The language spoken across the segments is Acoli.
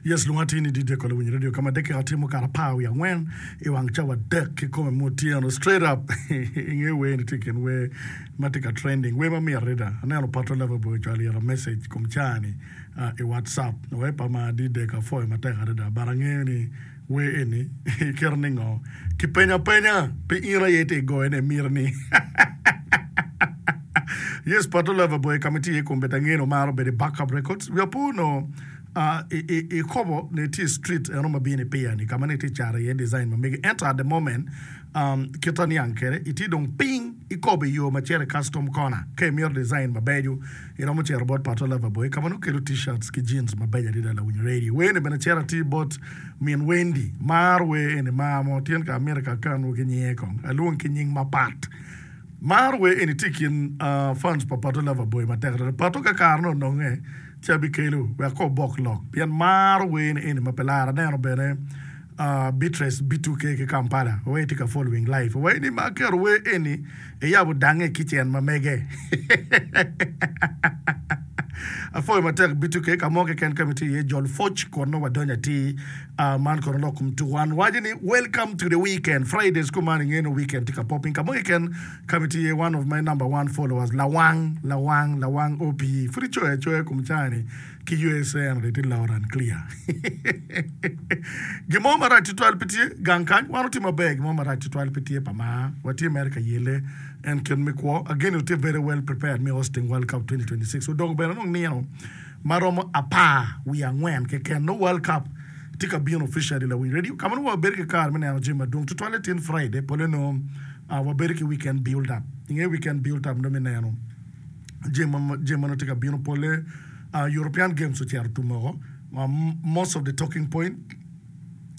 Yes, lwonga atir ni DJ Kolo Winyo Radio ka ma dakika tye mukato apar wiye angwen i wang cawa adek kikome ma otyeno straight up inge wer ni tye i kin wer ma tye ka trending wer ma mit adada aneno Pato Lover Boy ocwalo ira message kom caa ni i WhatsApp wek pa mar DJ ka apwoyo matek adada but angeyo ni wer eni iketo ni ngo kipenyo apenya pi in aye itye igoyo ne miti ni yes Pato Lover Boy ka ma itye iye kombeddi angeyo ni omaro bedo i Backup Records wiya po onongo I kobo ni tye i street eno ma bino i piya ni ka ma ni tye cato iye design ma megi ento at the moment kit aniang kwede itye dong piny i kobo i yo ma cito i custom corner ka imito design mabeco iromo cito bot Pato Lover Boy ka ma nongo kelo t-shirts ki jeans mabeco adada lawiny radio wer ni bene cito atir bot min Wendy maro wer eni mar mo tyen ka amito ka akanwu ki nyinge kong alwong ki nying mapat. Mar wer eni tye i kin fans pa Pato Lover Boy matek adada. Pato ka kare ne ononge ci abikelo wek ko obok lok pien maro wer ni eni ma pe laro. Aneno bene Beatrice B2K ki Kampala wai tye ka following live wai ni ma aketo wer eni iyabo dange i kitchen ma mege. Apwoyo matek B2K ka mo keken ka ma itye iye jol pwoc kun nongo wadonyo atir. Man kono lok kom tuko wan waco ni welcome to the weekend Fridays kuman inge no weekend tye ka popping ka mo keken ka ma itye iye one of my number one followers lawang lawang lawang OP pud icoyo acoya kom caa ni ki USA eno dong itye loud and clear gin mo marac tutwal pe tye gang kany wan watye maber gin mo marac tutwal pe tye pa mar watye mere ka yele en kit me kwo again watye very well prepared me hosting world cup 2026 odong bene dong nino ma romo apar wiye angwen keken nongo World Cup tye ka bino officially lawiny radio ka ma nongo wabedo ki kare me neno jami madwong tutwalle tin Friday pole nongo wabedo ki weekend build up inge weekend build up nongo me neno jami ma jami ma nongo tye ka bino pole European games ocito tum woko most of the talking point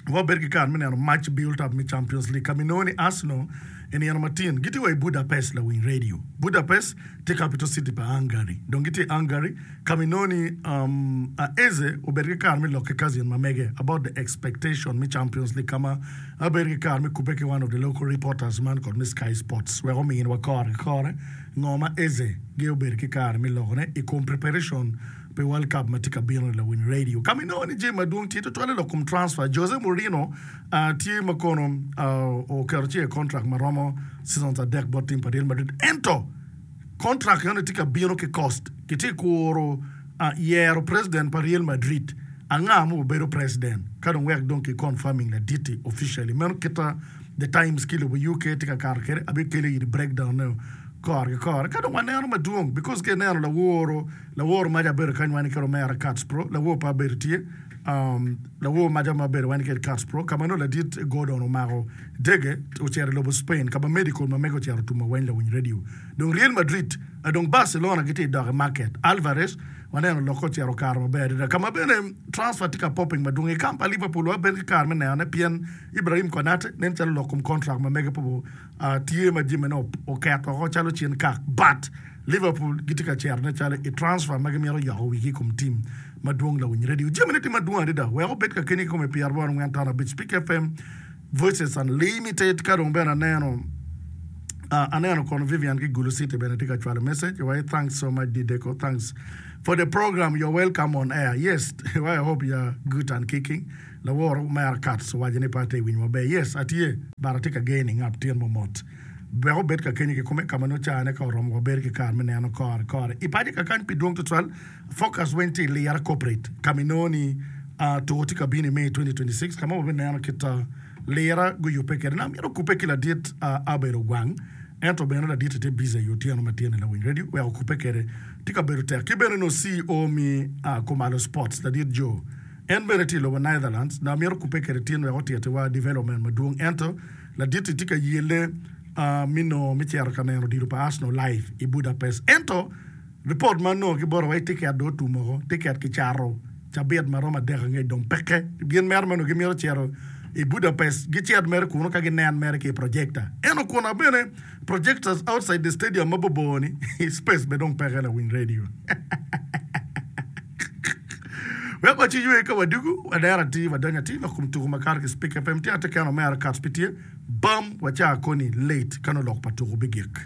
Wabedo ki kare me neno mac built up me Champions League ka ma inongo ni Arsenal i nino matin gitye wa i Budapest lawiny radio. Budapest tye capital city pa Hungary. Dong gitye i Hungary ka ma inongo ni um, Eze obedo ki kare me lok ki cousin ma mege about the expectation me Champions League ka ma abedo ki kare me kubbe ki one of the local reporters man kod me Sky Sports wek ominwa kore ki kore ngo ma Eze gi obedo ki kare me lokone i kom preparation pi World Cup ma tye ka bino i lawiny radio ka ma inongo ni jami madwong tye tutwalle lok kom transfer. Jose Mourinho tye ma kono oketo ci i contract ma romo seasons adek bot team pa Real Madrid ento contract enoni tye ka bino ki cost. Kitye ka kuro yero president pa Real Madrid anga ma obedo president ka dong wek dong ki confirming ladit-ti officially. Meno kita The Times ki lobo UK tye ka kato kwede abikelo iri breakdown ne kore ki kore ka dong waneno madwong because ka ineno laworo Lawor maca abedo kany wani kede omera Katz Pro, lawor pe abedo tye, um, lawor maca ma abedo wani kede Katz Pro, ka ma nongo ladit Gordon omako dege ocito i lobo Spain ka ma medical ma mege ocito otumo weny lawiny radio. Dong Real Madrid, uh, dong Barcelona gitye i dok i market. Alvarez, waneno lokke ocito okato maber adada. Ka ma bene transfer tye ka popping madwong i camp pa Liverpool wabedo ki kare me nenone pien Ibrahim Konate nen calo lok kom contract ma mege pe uh, tye ma jamine oket woko calo cin kak but Liverpool gitye ka cerone calo i transfer ma gimito yoko wigi i kom tim madwong lawiny radio. Jamine tye madwong adada wek obed ka keni kikome 84.5 Speak FM Voices Unlimited ka dong bene aneno uh, aneno kono Vivian ki Gulu City bene tye ka cwalo message wai thanks so much Dideko thanks for the program you're welcome on air yes I hope you're good and kicking laworo mera Katz owaco ni pe atye winyo maber yes atye but atye ka gaining up tyen momot Wek obed ka kenyo kikome ka ma nongo caane ka oromo wabedo ki kare me neno kore kore i paco kakany pi dwong tutwal. Focus weng tye i lira corporate ka ma inongo ni tuko tye ka bino i May 2026 ka ma wabineno kit lira guyubbe kwede. Naka myero okubbe ki ladit Abel Ogwang ento bene ladit tye busy i otyeno ma tye ni lawiny radio wek okubbe kwede tye ka bedo tek. Ki bene nongo CEO me Kumalo Sports ladit Joe en bene tye i lobo Netherlands naka myero okubbe kwede tin wek otitiwa development madwong ento Ladit-ti tye ka yelle me nongo me cito ka neno odilo pa Arsenal live i Budapest. Ento, ripot ma anongo ki bote waci tiket dong otum woko. Tiket kicato cabit ma romo adek angec dong peke. Gin mere ma onongo gimito cito i Budapest gicit mere kunu ka ginen mere ki i projector. Ento kuna bene projectors outside the stadium mabor bor-ni space bene dong peke lawiny radio. Wek waci ywe ka wadugu, wadero atir, wadonyo atir lok kom tuku makato ki Spik FM. Tye ate kene omera Kats pe tye, bam waca koni late ka nongo lok pa tuku bigik.